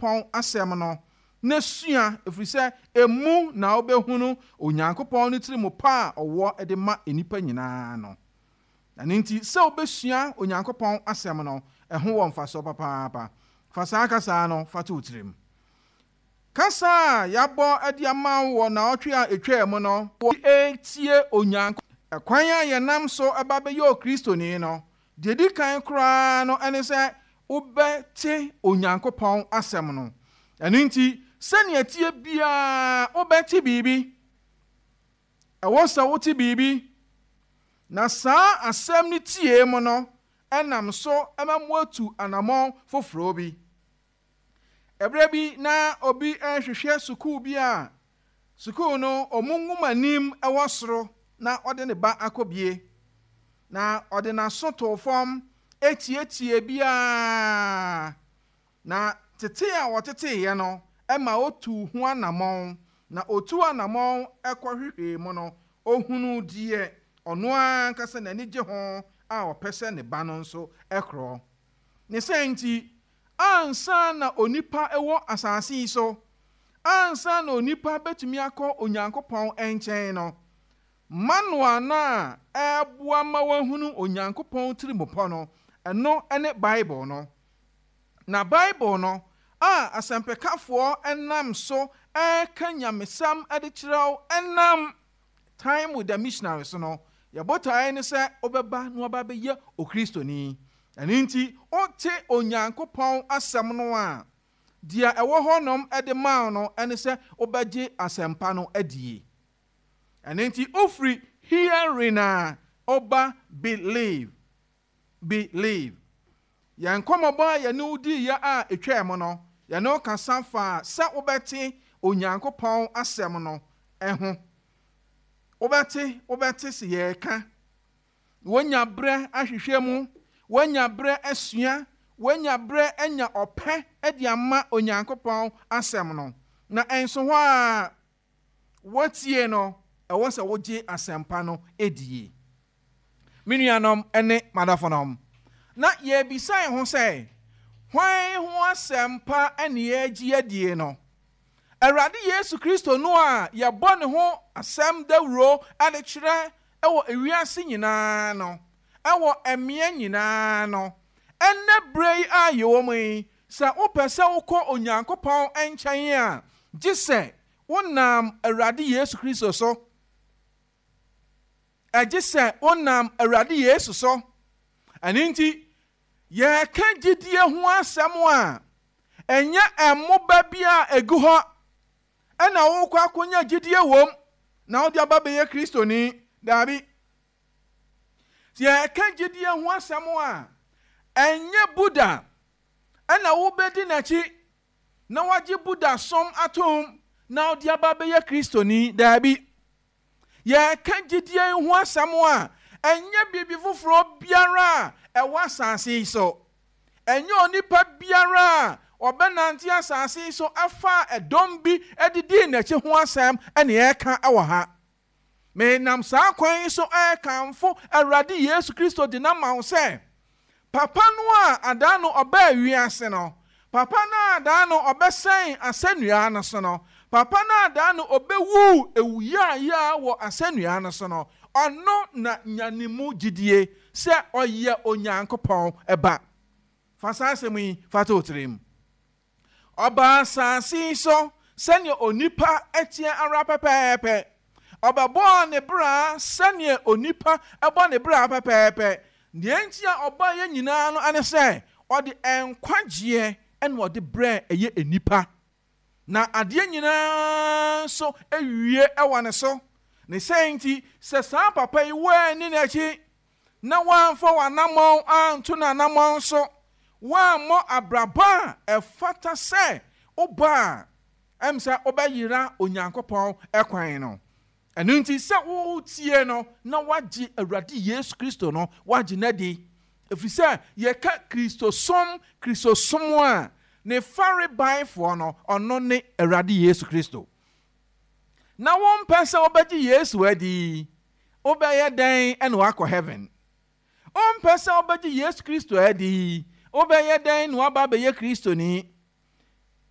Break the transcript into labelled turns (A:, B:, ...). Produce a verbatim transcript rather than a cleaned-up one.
A: Onyankopɔn asɛm no na sua, ɛfiri sɛ emu na wobɛhunu Onyankopɔn no tiri mu pa a ɔwɔ de ma nnipa nyinaa no. Na ne nti sɛ wobɛsua Onyankopɔn asɛm no, ɛho wɔ mfasoɔ papaapa. Fa saa kasaa no fa to wo tirim. Kasa a yɛabɔ de ama wo wɔ naawɔtwe a ɛtwaa mu no, ɛtie Onyankopɔn. Ɛkwan a yɛnam so ɛba bɛyɛ Okristoni no, deɛ di kan koraa no ɛne sɛ wobɛte Onyankopɔn asɛm no. Ɛno nti sɛnea tie biara wobɛte biribi. Ɛwɔ sɛ wote biribi. Na saa asɛm no tie mu no, ɛnam so ɛma mo atu anammɔn foforɔ bi. Ɛberɛ bi na obi ɛrehwehwɛ sukuu bi a sukuu no ɔmo nwoma nim ɛwɔ soro na ɔde ne ba akɔbie. Na ɔde n'aso too fam etietie biara. Na tete a wɔteteeɛ no ɛma otu ho anammɔn. Na otu anammɔn ɛkɔhwehwɛ mu no, ohunu deɛ ɔno ankasa n'ani gye ho a ɔpɛ sɛ ne ba no nso ɛkorɔ. Ne sɛ nti, ansa na onipa ɛwɔ asase yi so, ansa na onipa bɛtumi akɔ Onyankopɔn nkyɛn no, manual no a ɛboa ma wahunu Onyankopɔn tirimupɔ no, ɛno ne Bible no. Na Bible no a asɛmpɛkafoɔ ɛnam so ɛreka nyamesɛm de kyerɛw ɛnam Time with the Missionaries no, yɛbotaeɛ ne sɛ wobɛba na waba bɛyɛ Okristoni. Ɛno nti wote Onyankopɔn asɛm no a, deɛ ɛwɔ hɔnom de maa no ɛne sɛ wobɛgye asɛmpa no adie. Ɛno nti wofiri hearing a ɔba believe. Believe. Yɛn nkɔmmɔbɔ a yɛne wo diiɛ a ɛtwaa mu no, yɛne wo kasa fa sɛ wobɛte Onyankopɔn asɛm no ɛho. Wobɛte, wobɛte sɛ yɛreka. Wonya berɛ ahwehwɛ mu, woanya berɛ asua, woanya berɛ anya ɔpɛ de ama Onyankopɔn asɛm no. Na ɛnso hɔ a wotie no, ɛwɔ sɛ wogye asɛmpa no edie. Me nuanom ne madɔfonom, na yɛbisa yɛn ho sɛ, hwan ho asɛmpa ne yɛagye adie no? Awurade Yesu Kristo no a yɛbɔ ne ho asɛm dawuro de kyerɛ ɛwɔ ewiase nyinaa no, ɛwɔ mmea nyinaa no, ɛnnɛ berɛ yi a yɛwɔ mu yi, sɛ wopɛ sɛ wokɔ Onyankopɔn nkyɛn a, gye sɛ wonam Awurade Yesu Kristo so. Ɛgye sɛ wonam Awurade Yesu so. Ɛno nti, yɛreka gyidie ho asɛm a, ɛnyɛ ɛmmoba bi a egu hɔ ɛna wokɔ akɔnya gyidie wom na wode aba bɛyɛ Kristoni. Daabi. Sɛ yɛreka gyidie ho asɛm a, ɛnyɛ Buddha ɛna wobɛdi n'akyi na wagye Buddha som atom na wode aba bɛyɛ Kristoni. Daabi. Yɛreka gyidie ho asɛm a, ɛnyɛ biribi foforɔ biara a ɛwɔ asase yi so. Ɛnyɛ onipa biara a ɔbɛnante asase yi so afa ɛdɔm bi de dii n'akyi ho asɛm ɛna yɛreka ɛwɔ ha. Menam saa kwan yi so ɛrekamfo Awurade Yesu Kristo de nam wo sɛ, papa no a adaa no ɔbaa wiase no, papa no a adaa no ɔbɛsɛn asɛnnua no so no, papa no a adaa no ɔbɛwu ewuyaaya wɔ asɛnnua no so no, ɔno na nya ne mu gyidie sɛ ɔyɛ Onyankopɔn ɛba. Fa saa asɛm yi fa to wo tirim. Ɔbaa asase yi so sɛnea onipa ɛteɛ ara pɛpɛɛpɛ. Ɔbɛbɔɔ ne bra sɛnea onipa ɛbɔ ne bra pɛpɛɛpɛ. Deɛ nti a ɔbaa yɛ nyinaa no ane sɛ ɔde nkwagyeɛ ɛna ɔde brɛ ɛyɛ enipa. Na adeɛ nyinaa nso ewie ɛwɔ ne so. Ne sɛ nti sɛ saa papa yi wɔani n'akyi na wɔamfa w'anammɔn anto n'anammɔn so, wɔammɔ abrabɔ a ɛfata sɛ wobɔ a, ɛm sɛ wobɛyera Onyankopɔn ɛkwan no. Ɛno nti sɛ wotie no na woagye Awurade Yesu Kristo no, woagye n'adi. Ɛfiri sɛ yɛka Kristosom, Kristosom a ne farebaefoɔ no, ɔno ne Awurade Yesu Kristo. Na wompɛ sɛ wobɛgye Yesu adi, wobɛyɛ dɛn ɛna wakɔ heaven? Wompɛ sɛ wobɛgye Yesu Kristo adi, wobɛyɛ dɛn na waba abɛyɛ Kristoni?